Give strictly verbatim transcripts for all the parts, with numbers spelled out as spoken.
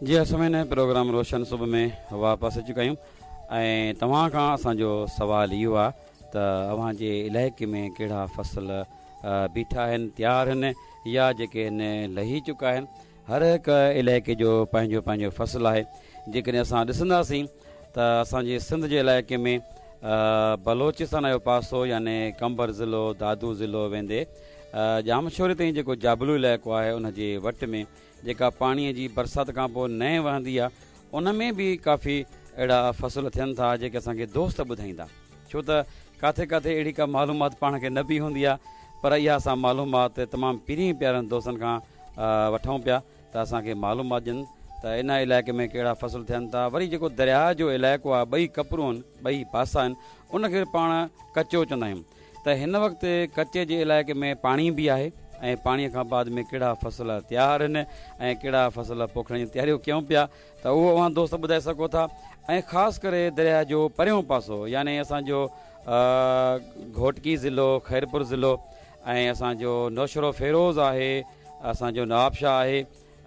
जी असां प्रोग्राम रोशन सुबह में वापसि अची चुका आहियूं ऐं तव्हां खां असांजो सवाल इहो आहे त अव्हांजे इलाइक़े में कहिड़ा फसल बीठा आहिनि, तयारु आहिनि या जेके आहिनि लही चुका आहिनि। हर हिकु इलाइक़े जो पंहिंजो पंहिंजो फसल आहे। जेकॾहिं असां ॾिसंदासीं त असांजे सिंध जे इलाइक़े में बलोचिस्तान जो पासो यानी कंबर ज़िलो, दादू ज़िलो वेंदे जामशोरे ताईं जेको जाबलू इलाइक़ो आहे उनजे वट में जेका पाणीअ जी बरसाति खां पोइ नए वहंदी आहे उन में बि काफ़ी अहिड़ा फसल थियनि था जेके असांखे दोस्त ॿुधाईंदा, छो त किथे किथे अहिड़ी का मालूमात पाण खे न बि हूंदी आहे, पर इहा असां मालूमात तमामु पीरी प्यारनि दोस्तनि खां वठूं पिया त असांखे मालूमात ॾियनि त इन इलाइक़े में कहिड़ा फसल थियनि था। वरी जेको दरिया जो इलाइक़ो आहे, ॿई कपरूं आहिनि, ॿई पासा आहिनि, उनखे पाण कचो चवंदा आहियूं। त हिन वक़्तु कचे जे इलाइक़े में पाणी बि आहे ऐं पाणीअ खां बाद में कहिड़ा फसल तयारु आहिनि ऐं कहिड़ा फसल पोखण जी तयारियूं कयूं पिया त उहो अव्हां दोस्त ॿुधाए सघो था। ऐं ख़ासि करे दरिया जो परियों पासो यानी असांजो घोटकी ज़िलो, ख़ैरपुर ज़िलो ऐं असांजो नौशरो फेरोज़ आहे, असांजो नवाबशाह आहे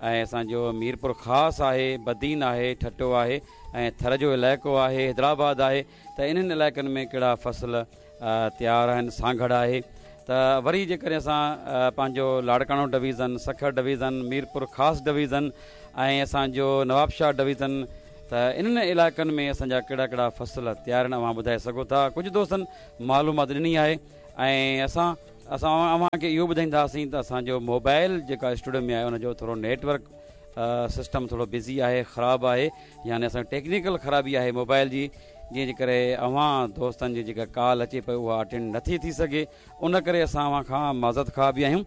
ऐं असांजो मीरपुर ख़ासि आहे, बदीन आहे, ठट्टो आहे ऐं थर जो इलाइक़ो आहे, हैदराबाद आहे, त इन्हनि इलाइक़नि में कहिड़ा फसल तयारु आहिनि, सांगड़ आहे। त वरी जेकॾहिं असां पंहिंजो लाड़काणो डिवीज़न, सखर डिवीज़न, मीरपुर ख़ासि डिवीज़न ऐं असांजो नवाबशाह डिवीज़न, त इन्हनि इलाइक़नि में असांजा कहिड़ा कहिड़ा फसल तयारु आहिनि अव्हां ॿुधाए सघो था। कुझु दोस्तनि मालूमात ॾिनी आहे ऐं असां असां अव्हांखे इहो ॿुधाईंदासीं त असांजो मोबाइल जेका स्टूडियो में आहे उनजो थोरो नेटवर्क सिस्टम थोरो बिज़ी आहे, ख़राबु आहे, यानी असांजी टेक्निकल ख़राबी आहे मोबाइल जी, जंहिंजे करे अव्हां दोस्तनि जी जेका कॉल अचे पई उहा अटेंड नथी थी सघे। उन करे असां अव्हां खां माज़रत ख़्वाह बि आहियूं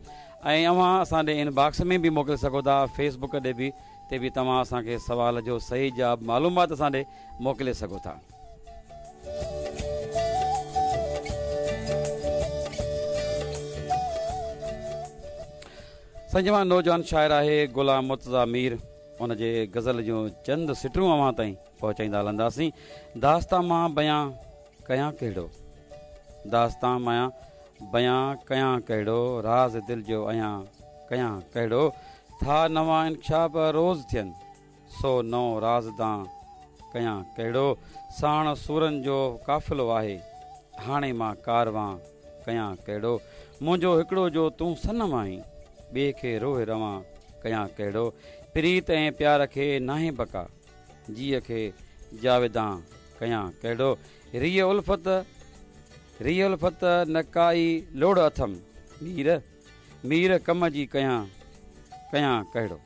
ऐं अव्हां असां ॾे इनबॉक्स में बि मोकिले सघो था, फेसबुक ते बि ते बि तव्हां असांखे सवाल जो सही जवाब मालूमात असां ॾे मोकिले सघो था। साईं जवान नौजवान शाइर आहे ग़ुलाम मुर्तज़ा मीर, उनजे गज़ल जूं चंद सिटूं अव्हां ताईं पहुचाईंदा हलंदासीं। दास्तां मां बयां कयां कहिड़ो, दास्तां मां बयां कयां कहिड़ो, राज़ दिल जो अयां कयां कहिड़ो, था नवां इंकशाफ रोज़ थियनि, सो नओं राज़दां कयां कहिड़ो, साण सूरनि जो काफ़िलो आहे, हाणे मां कारवां कयां कहिड़ो, मुंहिंजो हिकिड़ो जो तूं सनम आहीं, ॿिए खे रोह रवां कयां कहिड़ो, प्रीत ऐं प्यार खे नाहे बका, जीअ खे जावेदां कयां कहिड़ो, रीअ उल्फत रीअ उल्फत न काई लोड़ अथम, मीर मीर कम जी कयां कयां कहिड़ो।